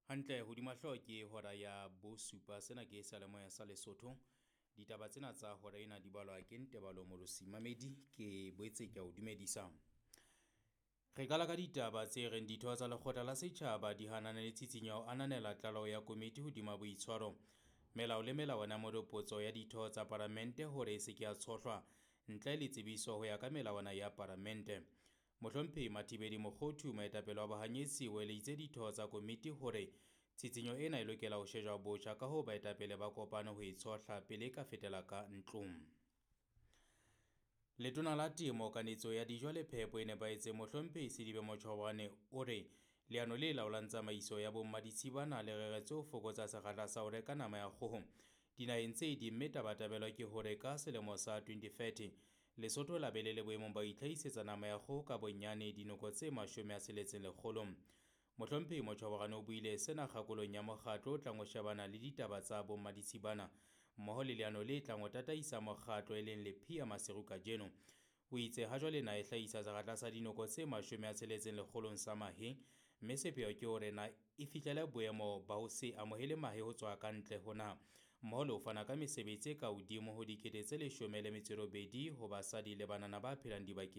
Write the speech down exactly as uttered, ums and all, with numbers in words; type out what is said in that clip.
Hantle hodima hlooho ke hora ya bosupa. Sena ke seyalemoya sa Lesotho. Ditaba tsena tsa hora ena di balwa ke Ntebalo Molosi Mamedi. Ke boetse ke a o dumedisa. Re qala ka ditaba tse reng ditho tsa lekgotla la setjhaba di hanana le tshitshinyo ya ho ananela tlaleho ya komiti hodima boitshwaro, melao le melawana ya moropotso ya ditho tsa palamente hore e se ke ya tshohlwa ntle le tsebiso ho ya ka melawana ya palamente. Mohlomphehi Mathibeli Mokhothu, moetapele wa bahanyetsi, o eleditse ditho tsa komiti hore tshitshinyo ena e lokela ho shejwa botjha, ka hoo baetapele ba kopane ho e tshohla pele e ka fetela ka ntlong. Letona la Temo, Kanetso ya Dijo le Phepo e nepahetseng Mohlomphehi Selibe Machobane o re leano le laolang tsamaiso ya bommaditshibana le reretswe ho fokotsa sekgahla sa ho reka nama ya kgoho dinaheng tse ding, mme tabatabelo ke hore ka selemo sa twenty thirty Lesotho la be le le boemong ba ho itlhahisetsa nama ya kgoho ka bonyane dinoko tse mashome a tsheletseng lekgolong. Mohlomphehi Machobane o buile sena kgakolong ya mokgatlo o tlang ho shebana le ditaba tsa bommaditshibana mmoho le leano le tlang ho tataisa mokgatlo e leng Lephia Maseru kajeno. O itse hajwale naha e hlahisa sekgahla sa dinoko tse mashome a tsheletseng lekgolong sa mahe, mme sepheo ke hore na e fihlele boemo ba ho se amohele mahe ho tswa ka ntle ho naha, mmoho le ho fana ka mesebetsi e ka hodimo ho dikete tse leshome le metso e robedi ho basadi le banana ba phelang dibakeng